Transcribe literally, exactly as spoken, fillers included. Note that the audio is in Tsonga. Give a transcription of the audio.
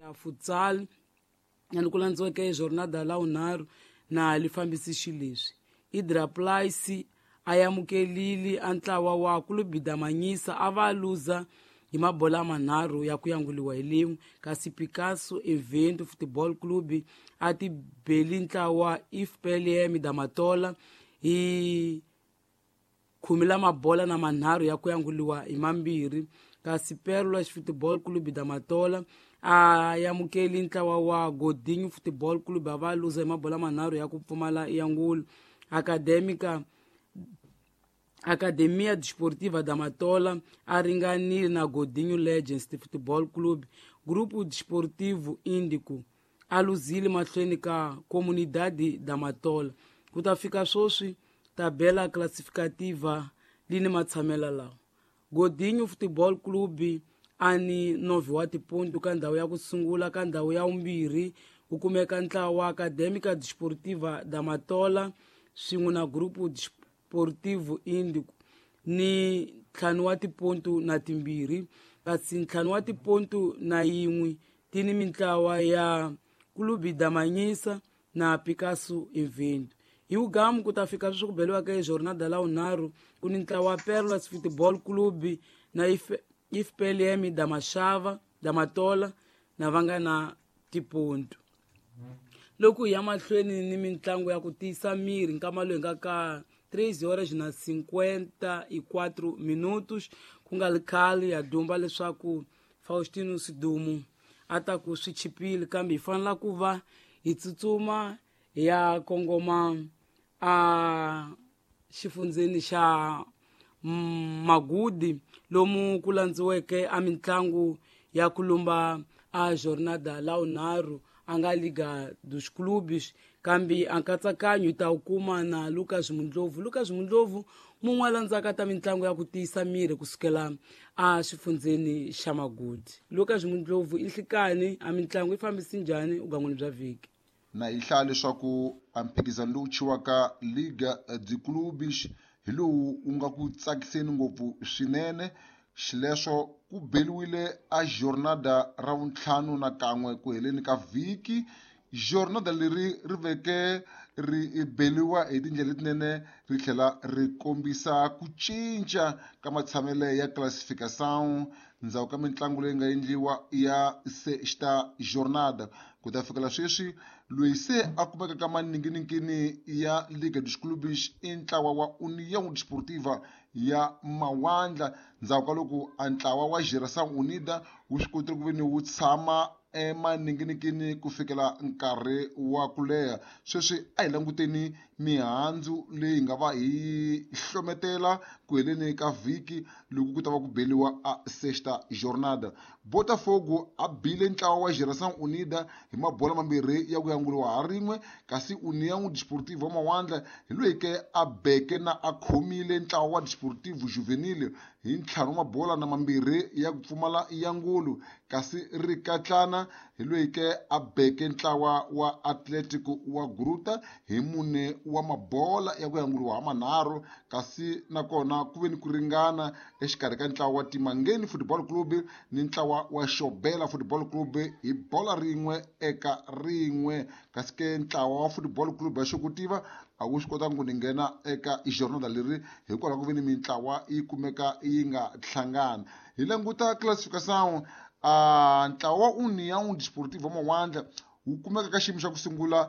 Ya futsal na ni ku landziweke jornada la vunharhu na li fambisi xileswi Idraplice a amukelile a ntlawa wa Clube da Manhisa a va luza hi mabola manharhu ya ku yanguliwa hi lin'we, kasi Picasso Evento Football Club a ti beli ntlawa I F P L M da Matola hi khume la mabola na manharhu ya ku yanguliwa hi mambirhi, kasi Pérolas Football Club da Matola a amukeli ntlawa wa Godinho Football Club a va luza hi mabola manharhu ya ku pfumala yangulo. Academica Academia Desportiva da Matola a ringanile na Godinho Legends Football Club. Grupo Desportivo Índico a luzile mahlweni ka Comunidade da Matola. Ku ta fika sweswi tabela classificativa li ni matshamelo lawa: Godinho Football Club a ni nove wa tipontu ka ndhawu ya ku sungula, ka ndhawu ya vumbirhi ku kumeka ntlawa wa Academica Desportiva da Matola swin'we na Grupo Desportivo Índico ni ntlhanu wa tipontu na timbirhi, kasi ntlhanu wa tipontu na yin'we ti ni mintlawa ya Clube da Manhisa na Picasso Evento. Hi wugamu ku ta fika sweswi ku beliwaka hi jornada la vunharhu ku ni ntlawa wa Pérolas Football Club na I F P L M da Mashava da Matola na va nga na tipontu. Loko hi ya mahlweni ni mitlangu ya ku tiyisa miri, nkama lowu hi nga ka três horas na cinquenta e quatro minutos, ku nga ri khale ya dumba leswaku Faustino Sidumu a ta ku swi chipile, kambe hi fanela ku va hi tsutsuma hi ya kongoma a xifundzeni xa Magudi lomu ku landziweke a mitlangu ya ku lumba a jornada la vunharhu a nga Liga dos Clubes, kambe a nkatsakanyo hi ta wu kuma na Lucas Mundlovu. Lucas Mundlovu mun'we a landzaka ta mitlangu ya ku tiyisa miri kusukela a xifundzeni xa Magudi. Lucas Mundlovu, i nhlikani, a mitlangu yi fambisi njhani ugangwini bya vhiki? Na hi hlaya leswaku a mphikizano lowu chiwaka Liga de Clubes hi lowu wu nga ku tsakiseni ngopfu swinene. Xileswo ku beliwile a jornada ra vuntlhanu na kan'we ku heleni ka vhiki. Jornada leri ri veke ri beliwa hi tindlela letinene, ri tlhela ri kombisa ku cinca ka matshamele ya classification ndzhaku ka mitlangu leyi nga endliwa ya sexta jornada. Ku ta fikela sweswi, loyi se a kumeka ka maninginingini ya Liga dos Clubes i ntlawa wa União Desportiva ya Mawandla, ndzhaku ka loko a ntlawa wa Geração Unida wu swi kotile ku ve ni wu tshama emaninginingini ku fikela nkarhi wa ku leha. Sweswi a hi languteni mihandzu leyi nga va hi hlometela ku heleni ka vhiki loko ku ta va ku beliwa a sexta jornada. Botafogo a bile ntlawa wa Geração Unida hi mabola mambirhi ya ku yanguliwa ha rin'we, kasi União Desportiva wa Mawandla hi loyi ke a beke na a khomile ntlawa wa Desportivo Juvenil hi ntlhanu wa mabola na mambirhi ya ku pfumala yangulu, kasi Rikatlana hi loyi ke a beke ntlawa wa Atletico wa Gruta hi mune wa mabola ya ku yanguliwa ha manharhu, kasi nakona ku ve ni ku ringana exikarhi ka ntlawa wa Timangeni Football Club ni ntlawa wa Xobela Football Club hi bola rin'we eka rin'we, kasi ke ntlawa wa Football Club ya Xokutiva a wu swi kotanga ku ni nghena eka jornada leri hikwalaho ku ve ni mintlawa yi kumeka yi nga hlangana. Hi languta classification, a ntlawa wa União Desportiva Mawandla wu kumeka ka xiyimo xa ku sungula.